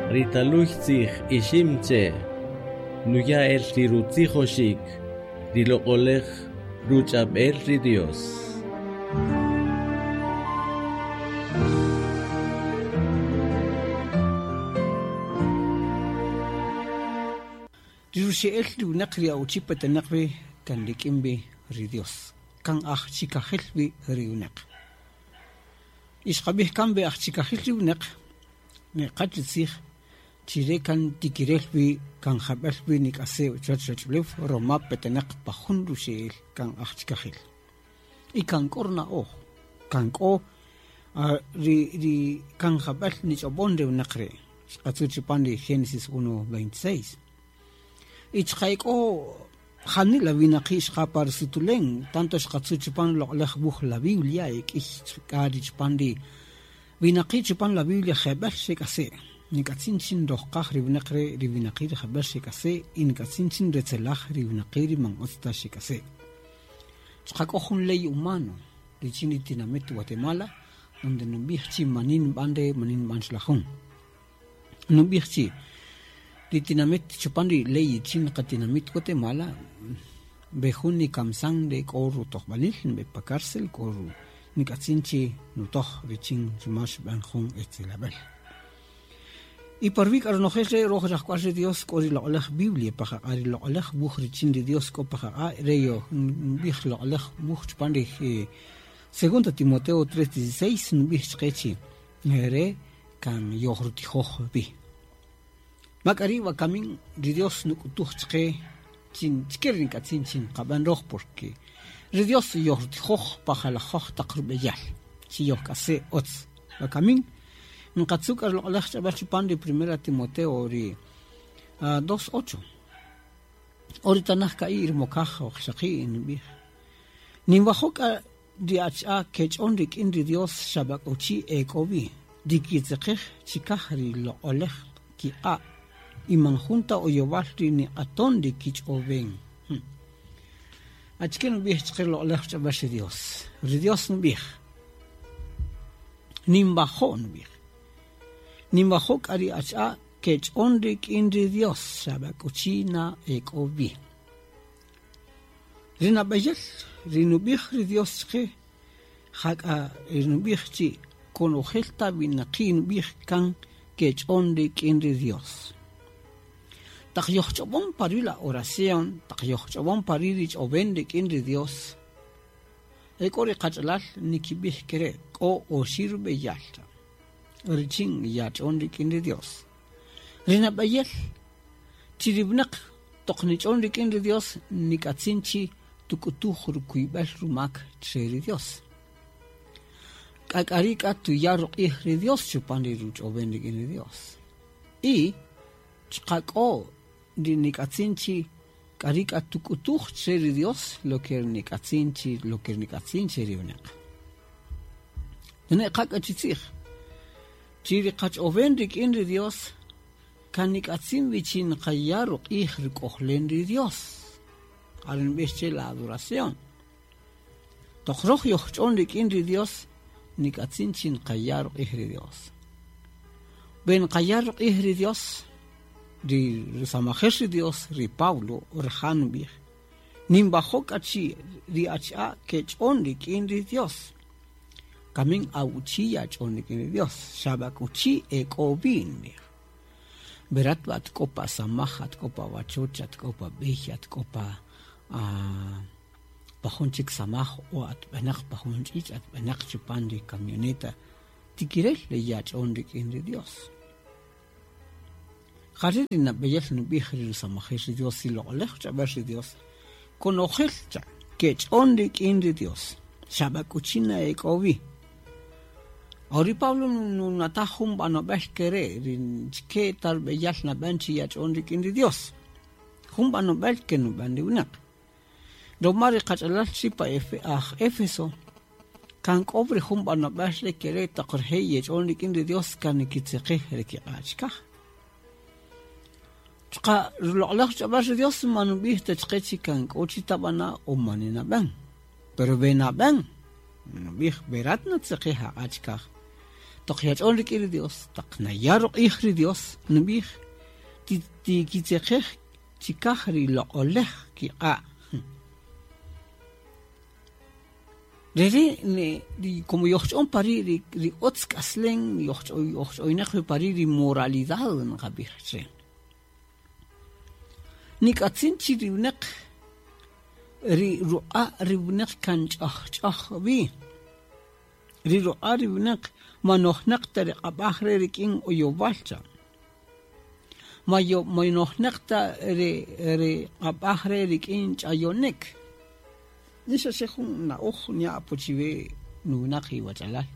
Ri taluy tzij ixim che' nuya' el ri rutzijoxik ri loq'oläj ruch'ab'el ri Dios. Ri ruxe'el ri winäq ri awuchi petenäq wi kan rik'in wi ri Dios, kan aj chikajil wi ri winäq. Y xqab'ij kan we aj chikajil ri winäq, niqa chi tzij chi re kan tikirel wi kan jab'el wi nik'ase' chuwäch ruwach'ulew roma petenäq pa jun ruxe'el kan aj chikajil. Y kan k'o runa'oj, kan k'o ri ri kan jab'el nich'ob'on re winäq re', xqatzu' chupan ri Génesis 1:26. Y chuqa' e k'o janila winaqi' xqa pa rusutulen, tanto xqatzu' chupan loq'oläj wuj la Biblia, e k'ïy k'a ri chupan ri winaqi' chupan la Biblia jeb'ël xek'ase'. Nik'atzin chi nrojqaj ri winäq re' ri winaqi' ri jeb'ël xek'ase' y nik'atzin chi nretzelaj ri winaqi' ri man ütz ta xek'ase'. Chuqa' k'o jun ley humano richin ri tinamït Guatemala donde nub'ij chi mani nb'an re' mani nb'an xla jun. Nub'ij chi ri tinamït chupan ri ley richin qatinamit Guatemala we jun nikamsan re k'o rutojb'alil nb'e pa cárcel k'o nik'atzin chi nutoj richin ruma xub'än jun etzelab'äl. Y pa ruwi' k'a ronojel re' röj rajk'wal ri Dios k'o ri loq'oläj Biblia pa qaq'a', ri loq'oläj wuj richin ri Dios k'o pa qaq'a', re nub'ij loq'oläj wuj chupan ri Segunda Timoteo 3:16 nub'ij chqe chi re' kan yojrutijoj wi. Ma k'a ri' wakami ri Dios nuk'utuj chqe chi chike ri nk'atzin chi nqab'än röj, porque ri Dios yojrutijoj pa jalajöj taq rub'eyal chi yojk'ase' ütz. Wakami nqatzu' k'a ruloq'oläj ch'ab'äl chupan ri Primera Timoteo ri 2:8. O ri tanaj ka'i' rumokaj waqxaqi' nub'ij, Ninwajo' k'a Ri ach'a kech'on rik'in ri Dios xab'ak'uchi e k'o wi, ri kitzeqej chikaj ri loq'olej kiq'a', y man jun ta oyowal ri niq'aton ri kich'owen. Achike nub'ij chqe loq'olej ruch'ab'äl ri Dios? Ri Dios nub'ij, Ninwajo' nub'ij. Ninwajo' k'a ri ach'a kech'on rik'in ri Dios xab'ak'uchi na e k'o wi. Ri nab'eyel ri nub'ij ri Dios chqe, jak'a ri nub'ij chi konojel ta winaqi' nub'ij kan kech'on rik'in ri Dios. Taq yojch'ob'on pa ruwi' la oración, taq yojch'ob'on pa ruwi' ri ch'owen rik'in ri Dios, e k'o ri qach'alal nikib'ij kere' k'o oxi' rub'eyal richin yach'on rik'in ri Dios. Ri nab'eyel chi ri winäq toq nich'on rik'in ri Dios nik'atzin chi tuk'utuj rukuyb'al rumak chre ri Dios. K'a k'a ri' k'a tuya' ruq'ij ri Dios chupan ri ruch'owen rik'in ri Dios. Y chuqa' k'o ri nik'atzin chi k'a ri' k'a tuk'utuj chre ri Dios lo ke nik'atzin chi lo ke nik'atzin che ri winäq. Nane' qa k'a chi tzij chi ri qach'owen rik'in ri Dios kan nik'atzin wi chi nqaya' ruq'ij ruk'ojlen ri Dios. Are nb'ix che la adoración. Toq röj yojch'on rik'in ri Dios, nik'atzin chi nqaya' ruq'ij ri Dios. We nqaya' ruq'ij ri Dios, ri rusamajel ri Dios, ri Pablo, rija' nub'ij, Ninwajo' k'a chi ri achi'a' kech'on rik'in ri Dios. Kamin awuchi yach'on rik'in ri Dios, xa b'ak'uchi e k'o wi, nub'ij. Berat b'a at k'o pa samaj, at k'o pa wachoch, at k'o pa b'ey, at k'o pa pa jun chik samaj o at b'enäq pa jun ch'ich', at b'enäq chupan ri camioneta, tikirel le yach'on rik'in ri Dios. Ja ri' ri nab'eyel nub'ij ri rusamajel ri Dios, ri loq'oläj ruch'ab'äl ri Dios, konojel cha kech'on rik'in ri Dios, xa b'ak'uchi na e k'o wi. O ri Pablo nunataj jun b'anob'el ke re' ri chike ta rub'eyal nab'än chi yach'on rik'in ri Dios. Jun b'anob'el ke nub'än ri winäq. Ruma ri qach'alal chi pa aj Éfeso kan k'o ri jun b'anob'el re ke re' toq rije' yech'on rik'in ri Dios kan nikitzeqej ri kiq'a' chikaj. Chuqa' ruloq'oläj ruch'ab'äl ri Dios man nub'ij ta chqe chi kan k'o chi tab'ana' o mani nab'än. Pero we nab'än, nub'ij we rat natzeqej aq'a' chikaj. Toq yach'on rik'in ri Dios, taq naya' ruq'ij ri Dios, nub'ij tikitzeqej chikaj ri loq'olej kiq'a'. Rere' ri como yojch'on pari' ri utz k'aslen yojch'oynaq wi pari' ri moralidad nqab'ij che. Nik'atzin chi ri winaq ri ruq'a' ri winaq kan ch'ajch'oj wi. Ri ruq'a' ri winaq man nojnaq ta ri q'ab'aj re rik'in oyowal cha. Ma nojnaq ta ri q'ab'aj re rik'in ch'ayonik. Ni xa xe jun na'oj nya' apo chiwe nuwinaq iwach'alal.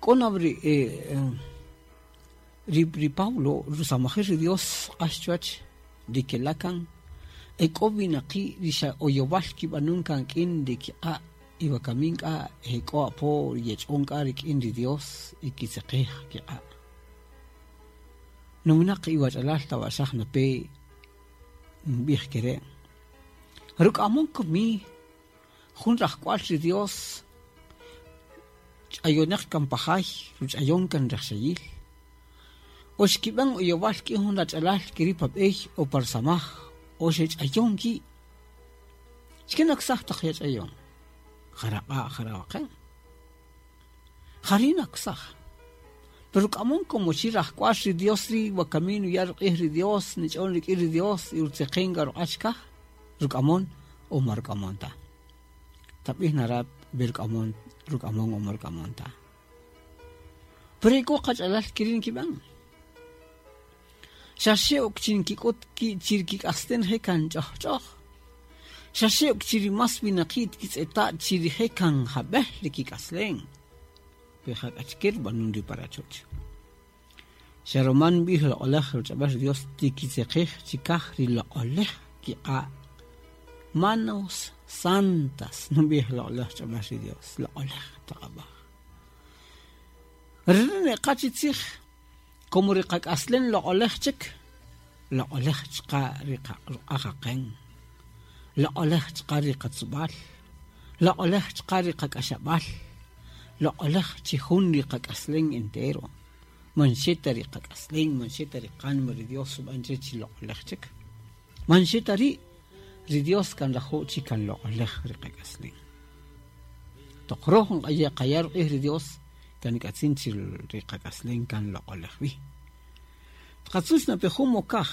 K'o na ri ri Pablo rusamajel ri Dios xq'ax chuwäch ri kela' kan e k'o winaqi' ri xa oyowal kib'anun kan k'in ri kiq'a' y wakamin k'a e k'o apo yech'on k'a rik'in ri Dios y kitzeqej kiq'a'. Nuwinaq iwach'alal tawa'xaj nape nb'ij ke re'. Ruk'amon komi jun rajk'wal ri Dios ch'ayoneq kan pa jay, ruch'ayon kan rajxayil. O xkib'an oyowal k'in jun rach'alal keri' pa b'ey o pa rusamaj o xech'ayon ki'. Xke naksaj taq yach'ayon? Jaraq'a' jarawaqen. Jari' naksaj. Pero ruk'amon como chi rajk'wal ri Dios ri' wakami nuya' ruq'ij ri Dios, nich'on rik'in ri Dios y rutzeqen k'a ruq'a' chikaj, ruk'amon o ma ruk'amon ta. Tab'ij na rat we ruk'amon ruk'amon o ma ruk'amon ta. Pero e k'o qach'alal keri' nkib'än. Xa xe ok chi nkik'üt ki' chi ri kik'aslen rije' kan ch'ojch'oj. Xa xe ok chi ri más winaqi' tkitz'eta' chi rije' kan jab'el ri kik'aslen. Pe jak'a achike rub'anun ri pa rachoch. Xa ruma nb'ij loq'oläj ruch'ab'äl ri Dios tikitzeqej chikaj ri loq'oläj kiq'a'. Manos santas nub'ij loq'oläj ruch'ab'äl ri Dios, loq'oläj taq ab'äj. Re' neqa chi tzij como ri qak'aslen loq'oläj chik, loq'oläj chuqa' ri ruq'a' qaqen, loq'oläj chuqa' ri qatzub'al, loq'oläj chuqa' ri qak'axab'al, loq'oläj chi jun ri qak'aslen entero, man xe ta ri qak'aslen, man xe ta ri qánima ri Dios xub'än che chi loq'oläj chik. Man xe ta ri', ri Dios kan nrajo' chi kan loq'oläj ri qak'aslen. Toq röj nqaya' ruq'ij ri Dios, kan nik'atzin chi ri qak'aslen kan loq'oläj wi. Tqatzuch na pe jun mokaj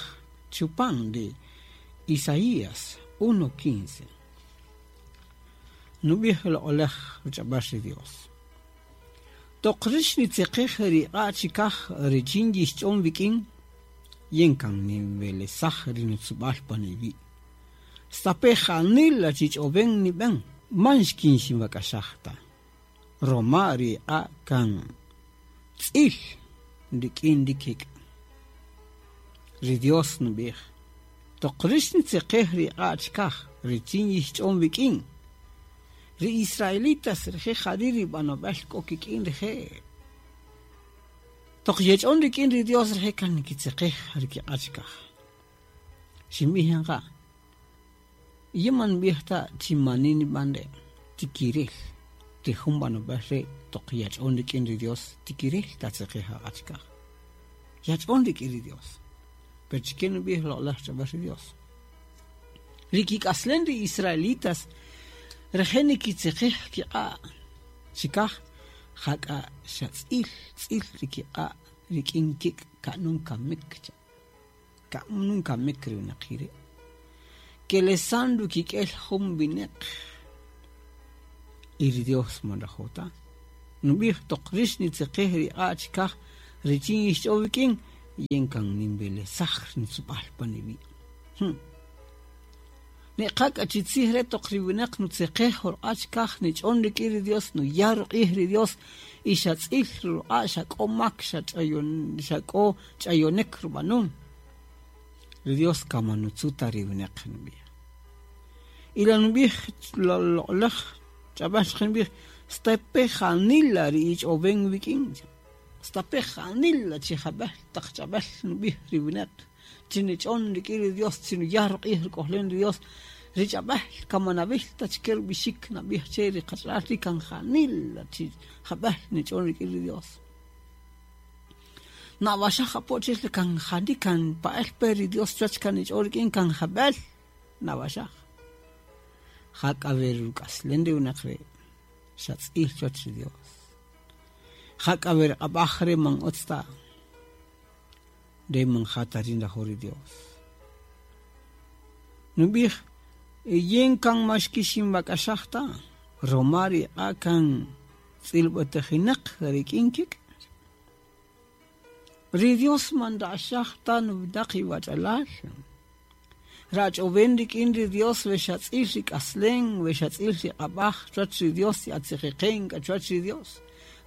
chupan ri Isaías 1:15. Nub'ij loq'oläj ruch'ab'äl ri Dios. Toq rïx nitzeqej ri iq'a' chikaj richin yixch'on wik'in, yin kan ninwelesaj ri nutzub'al pan iwi'. Stape' janila chi ch'owen nib'en, man xkinxinwak'axaj ta. Roma ri iq'a' kan tz'il rik'in ri kik'. Ri Dios nub'ij, Toq rïx nitzeqej ri iq'a' chikaj richin yixch'on wik'in, ri israelitas rije' jari' ri b'anob'äl k'o kik'in rije'. Toq yech'on rik'in ri Dios rije' kan nikitzeqej ri kiq'a' chikaj. Xinb'ij yan qa, Yin man nb'ij ta chi mani nib'an re', tikirel ri jun b'anob'äl re' toq yach'on rik'in ri Dios tikirel tatzeqej aq'a' chikaj. Yach'on rik'in ri Dios. Pero chike nub'ij loq'oläj ruch'ab'äl ri Dios. Ri kik'aslen ri israelitas rije' nikitzeqej kiq'a' chikaj, jak'a xa tz'il tz'il ri kiq'a' rik'in kik' ka'nun kamik cha'. Ka'nun kamik ri winaqi' ri'. Kelesan rukik'el jun wineq. Y ri Dios man nrajo' ta. Nub'ij toq rïx nitzeqej ri iq'a' chikaj richin yixch'o wik'in, yin kan ninwelesaj ri nutzub'al pan iwi'. Niqa k'a chi tzij re' toq ri winäq nutzeqej ruq'a' chikaj nich'on rik'in ri Dios, nuya' ruq'ij ri Dios y xa tz'il ri ruq'a' xa k'o mak, xa xa k'o ch'ayonik rub'anun. Ri Dios kan man nutzu' ta ri winäq, nub'ij. Y la nub'ij loq'oläj ch'ab'äl chqe nub'ij, Stape' janila ri ich'owen wik'in, stape' janila chi jab'el taq ch'ab'äl nub'ij ri winäq. Chi nich'on rik'in ri Dios, chi nuya' ruq'ij ruk'ojlen ri Dios. Ri ch'ab'äl kamanab'il ta chke rub'ixik nab'ij che ri qach'alal ri kan janila chi jab'el nich'on rik'in ri Dios. Na'awaxaj apo chel kan jani kan pa'el pe ri Dios chuwäch kan nich'on rik'in kan jab'el na'awaxaj. Jak'a we ruk'aslen ri winäq re' xa tz'il chuwäch ri Dios. Jak'a we ri q'ab'aj re' man utz ta, re man ja ta ri nrajo' ri Dios. Nub'ij, yin kan ma xkixinwak'axaj ta, roma ri iq'a' kan tz'ilb'atajinäq rik'in kik'. Ri Dios man nra'xaj ta nuwinaq iwach'alal. Rach'owen rik'in ri Dios we xa tz'il ri k'aslen, we xa tz'il ri q'ab'aj chuwäch ri Dios y atziqiqen k'a chuwäch ri Dios.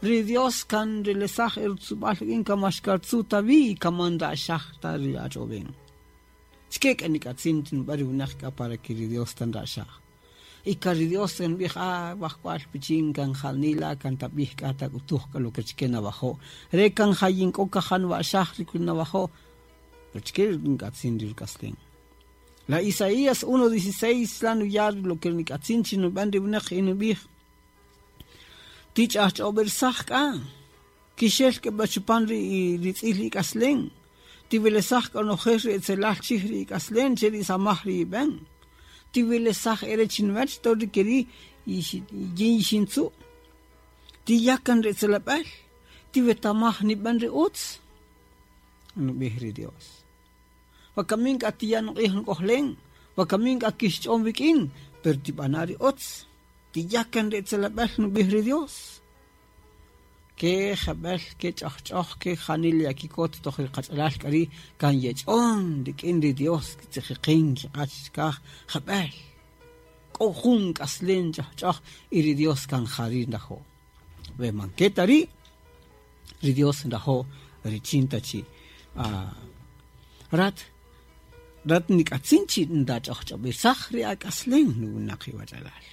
Ri Dios kan nrelesaj e rutzub'al rik'in kan man xkartzu' ta wi y kan man nra'xaj ta ri ach'owen. Chike k'a nik'atzin nub'än ri winäq k'a para que ri Dios ta nra'xaj. Y kan ri Dios kan nub'ij, ah, wajk'wal pichin kan janila kan tab'ij k'a tak'utuj k'a lo que chike nawajo'. Re kan ja yin k'o kaja nwa'xaj ri nawajo'. Pero chike nk'atzin ri ruk'aslen. La Isaías 1:16 la nuya' lo que nik'atzin chi nub'än ri winäq y nub'ij, Tich'ajch'ob'irsaj k'a, kixel k'a b'a chupan ri tz'il ik'aslen, tiwelesaj k'a nojel ri etzelal chij ri ik'aslen che ri samaj ri ib'en. Tiwelesaj ere chinuwech to ri keri' yin yixintzu'. Tiya' kan ri etzelab'äl, tiwetamaj nib'en ri utz, nub'ij ri Dios. Wakamin k'a tiya' nuq'ij nuk'ojlen, wakamin k'a kixch'on wik'in, pero tib'ana' ri utz. Tiya' kan ri etzelab'äl, nub'ij ri Dios. Ke jab'el, ke ch'ojch'oj, ke janila yakikot toj ri qach'alal k'a ri' kan yech'on rik'in ri Dios, kitzijiqin kiq'a' chikaj jab'el. K'o jun k'aslen ch'ojch'oj y ri Dios kan jari' nrajo'. We man ke ta ri', ri Dios nrajo' richin ta chi rat rat nik'atzin chi ndach'ojch'ob'irsaj ri ak'aslen nuwinaq iwach'alal.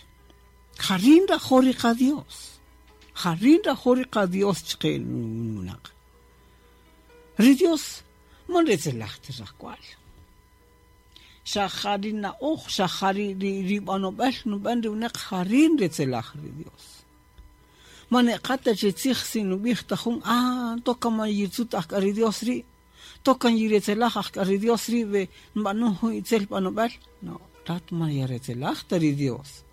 Jari' nrajo' ri qa-Dios. Jari' nrajo' ri qa-Dios chqe nuwinaq. Ri Dios man retzelaj ta rajk'wal. Xa ja ri na'oj, xa ja ri b'anob'äl nub'än ri winäq jari' nretzelaj ri Dios. Man eqa ta chi tzij si nub'ij ta jun, ah, toka man yitzut ajk'a ri Dios ri', toka yiretzelaj ajk'a ri Dios ri' we nb'anun jun itzel b'anob'äl. No, rat man yaretzelaj ta ri Dios.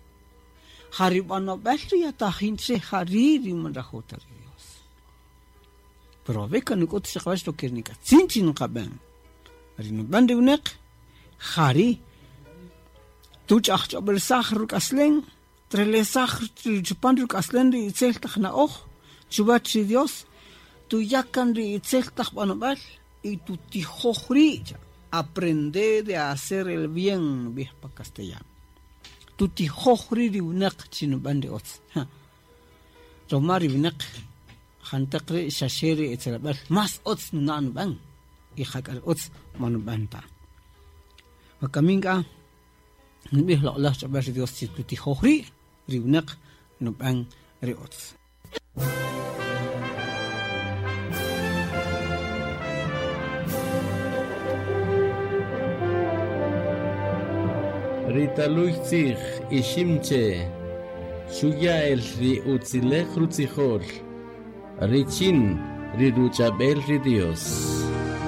Ja ri b'anob'äl ri yatajin che jari' ri man nrajo' ta ri Dios. Pero wawe' kan nuk'ut chiqawäch lo que nik'atzin chi nqab'än. Ri nub'än ri winäq jari' tuch'ajch'ob'irsaj ruk'aslen, trelesaj chupan ruk'aslen ri itzel taq na'oj chuwäch ri Dios, tuya' kan ri itzel taq b'anob'äl y tutijoj ri', aprende de hacer el bien, nub'ij pa castellano. Tutijoj ri' ri winäq chi nub'än ri utz. Roma ri winäq janteq ri' xa xe ri etzelab'äl más utz nuna' nub'än y jak'a ri utz man nub'än ta. Wakamin k'a nub'ij loq'oläj ch'ab'äl ri Dios chi tutijoj ri' ri winäq nub'än ri utz. Ri taluy tzij Iximche xuya' el ri utzilej rutzijol richin ri ruch'ab'el ri Dios.